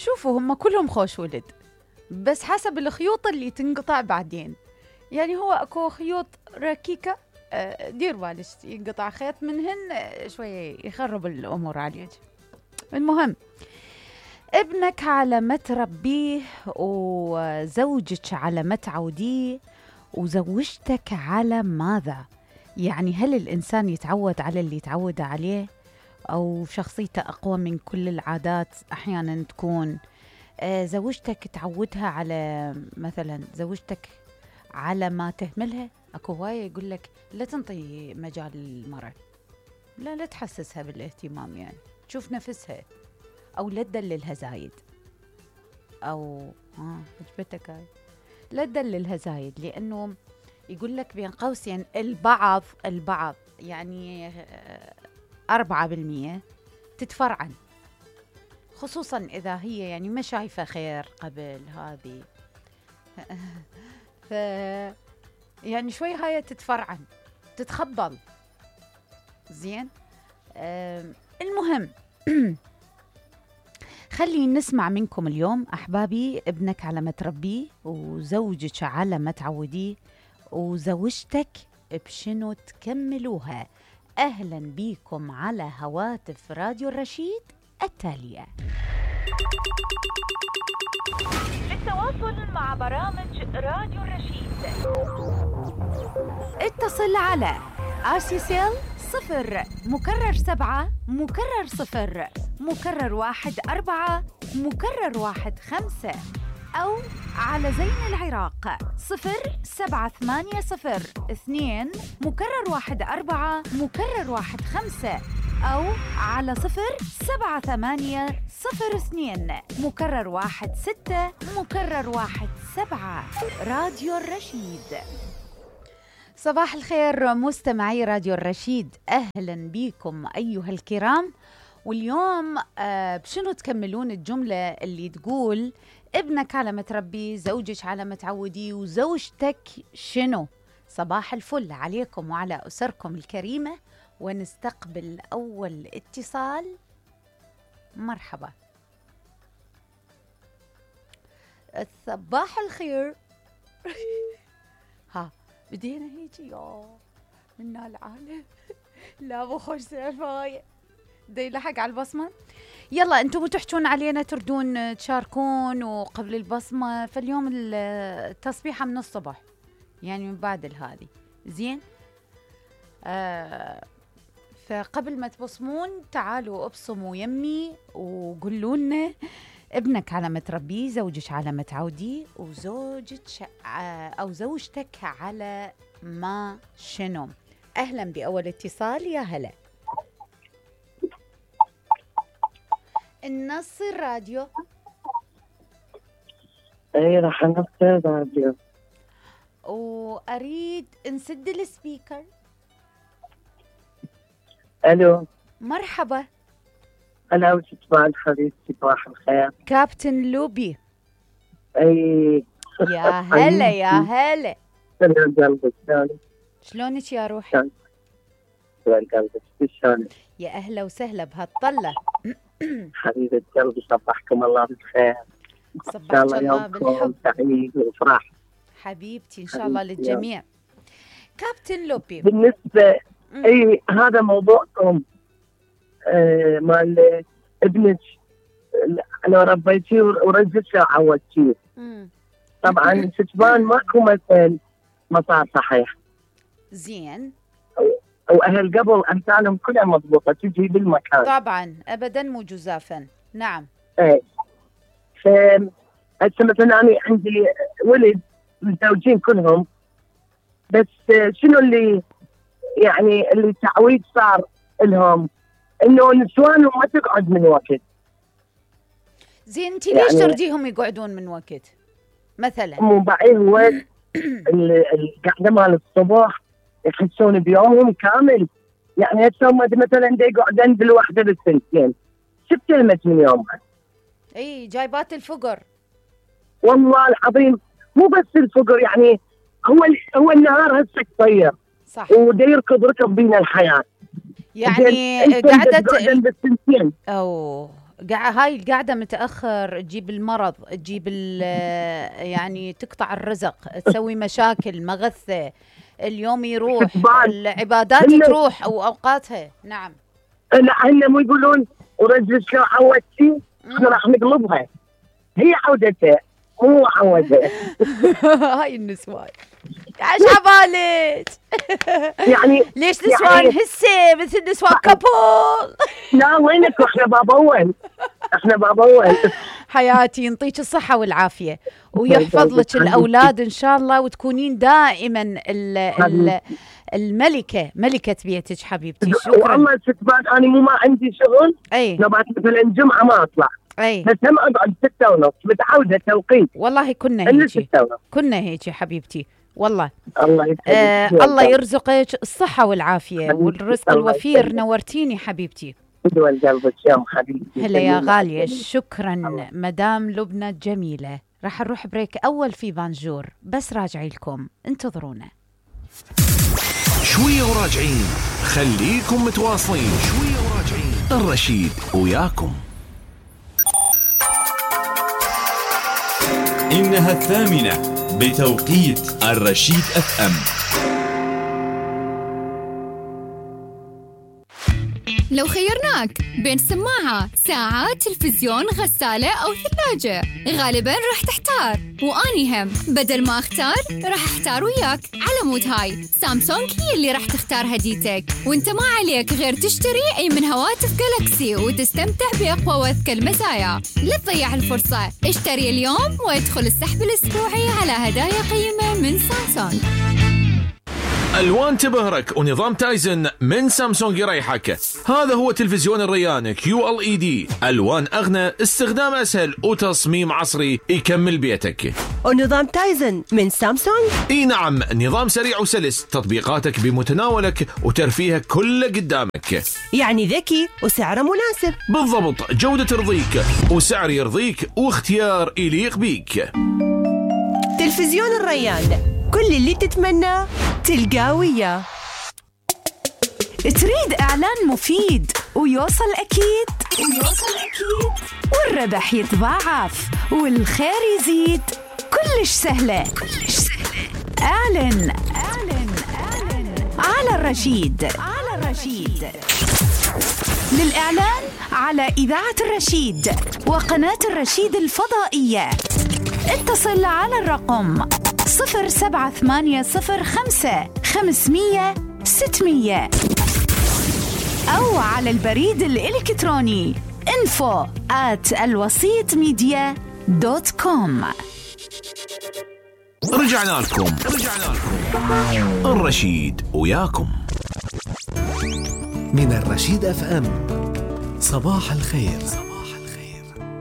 شوفوا هم كلهم خوش ولد، بس حسب الخيوط اللي تنقطع بعدين. يعني هو اكو خيوط ركيكة، دير بالك ينقطع خيط منهن شوية يخرب الأمور عليك. المهم ابنك على ما تربيه، وزوجك على ما تعوديه، وزوجتك على ماذا؟ يعني هل الإنسان يتعود على اللي يتعود عليه، أو شخصيته أقوى من كل العادات؟ أحيانا تكون زوجتك تعودها على مثلا زوجتك على ما تهملها. أكو هواية يقول لك لا تنطي مجال المرأة، لا تحسسها بالاهتمام، يعني تشوف نفسها، أو لا تدللها زايد، أو عجبتك هاي لا تدللها زايد، لأنه يقول لك بين قوسين البعض يعني 4% تتفرعن، خصوصا إذا هي يعني ما شايفة خير قبل هذه ف يعني شوي هاي تتفرعن تتخبل. زين. المهم خلينا نسمع منكم اليوم أحبابي. ابنك على ما تربيه، وزوجك على ما تعوديه، وزوجتك بشنو تكملوها. أهلا بيكم على هواتف راديو الرشيد التالية. للتواصل مع برامج راديو الرشيد اتصل على RCCL 0 مكرر 7 مكرر 0 مكرر 1 4 مكرر 1 5، أو على زين العراق 0780 2 مكرر 1 4 مكرر 1 5، أو على 0780 02 مكرر 1 6 مكرر 1 7. راديو الرشيد. صباح الخير مستمعي راديو الرشيد، أهلا بكم أيها الكرام. واليوم بشنو تكملون الجملة اللي تقول ابنك على ما تربي، زوجك على ما تعودي، وزوجتك شنو؟ صباح الفل عليكم وعلى أسركم الكريمة. ونستقبل أول اتصال. مرحبا. صباح الخير. ها بدينا هيجي منا العالم. لا مو خوش سالفة دي لحق على البصمة. يلا انتم تحجون علينا، تردون تشاركون وقبل البصمة. فاليوم التصبيحة من الصبح، يعني من بعد هذه. زين. فقبل ما تبصمون تعالوا ابصموا يمي وقولوا لنا ابنك على ما تربيه، زوجك على ما تعوديه، وزوجك أو زوجتك على ما شنو. أهلا بأول اتصال. يا هلا. النص الراديو. اي راح نص الراديو، وأريد نسد السبيكر. الو مرحبا. انا وصباح حبيبتي، صباح الخير. كابتن لوبي. اي يا هلا يا هلا. شلون قلبك؟ شلونك يا روحي؟ شلون قلبك؟ شلونك؟ يا اهلا وسهلا بهالطله. حبيبه قلبي، صبحكم الله بالخير. صبحك الله بالحب. سعيد وفرح حبيبتي، ان شاء الله للجميع. كابتن لوبي، بالنسبه اي هذا موضوعكم مال ابنك لو ربيتيه ورزقته وعودتيه. طبعا ستبان ماكو مثل ما صار صحيح. زين. واهل قبل امثالهم كلها مضبوطه تجي بالمكان. طبعا ابدا مو جزافا. نعم. ايه. هسه مثلا انا عندي ولد متزوجين كلهم، بس شنو اللي يعني اللي تعويض صار لهم انه نسوانهم ما تقعد من وقت. زين انت ليش يعني ترجيهم يقعدون من وقت مثلا؟ مو بعيد هو القعده مال الصبح يحسون بيومهم كامل. يعني هسه مثلا دا يقعدن بالوحده بالسنتين، شفت كلمه من يومها. اي جايبات الفقر والله العظيم. مو بس الفقر، يعني هو النهار هسه قصير، صح، ودا يركض ركض بين الحياه. يعني قعدت بالسنتين. او هاي القعدة متأخر تجيب المرض، تجيب يعني تقطع الرزق، تسوي مشاكل، مغثة، اليوم يروح، العبادات تروح أو أوقاتها. نعم. لا هن مو يقولون ورجل شلون عودتي احنا راح نقلبها، هي عودتها مو عودها. هاي النسوان عاش عبالك. يعني ليش نسوان يعني هسه مثل نسوان كابول؟ لا وينك، احنا باب اول، احنا باب اول. حياتي ينطيك الصحة والعافية ويحفظ لك الأولاد إن شاء الله، وتكونين دائما الملكة، ملكة بيتك حبيبتي. شكرا والله ستبان أنا ما عندي شغل، نبات مثلا الجمعة ما أطلع، بس هم أقعد 6:30 متعودة توقيت. والله كنا هيك حبيبتي والله. الله يرزقك الصحة والعافية والرزق الوفير. نورتيني حبيبتي. هلا يا غالية. شكرا مدام لبنى الجميلة. راح نروح بريك أول في بانجور، بس راجعي لكم، انتظرونا شوية وراجعين. خليكم متواصلين، شوية وراجعين. الرشيد وياكم. إنها 8 بتوقيت الرشيد FM. لو خيرناك بين سماعة، ساعة، تلفزيون، غسالة أو ثلاجة، غالباً راح تحتار، وأني هم بدل ما أختار راح أحتار وياك. على مود هاي سامسونج هي اللي راح تختار هديتك، وانت ما عليك غير تشتري أي من هواتف جالاكسي وتستمتع بأقوى وأذكى المزايا. لا تضيع الفرصة، اشتري اليوم وادخل السحب الأسبوعي على هدايا قيمة من سامسونج. ألوان تبهرك ونظام تايزن من سامسونج يريحك. هذا هو تلفزيون الريان QLED، ألوان أغنى، استخدام أسهل، وتصميم عصري يكمل بيتك. ونظام تايزن من سامسونج؟ اي نعم، نظام سريع وسلس، تطبيقاتك بمتناولك وترفيهك كله قدامك. يعني ذكي وسعره مناسب. بالضبط، جودة ترضيك وسعر يرضيك واختيار يليق بيك. تلفزيون الريان، كل اللي تتمناه تلقاه وياه. تريد إعلان مفيد ويوصل أكيد والربح يتضاعف والخير يزيد، كلش سهلة. أعلن على الرشيد. للإعلان على إذاعة الرشيد وقناة الرشيد الفضائية اتصل على الرقم 07805 500 600 أو على البريد الإلكتروني info@alwasitmedia.com. رجعنا لكم. الرشيد وياكم. من الرشيد FM. صباح الخير.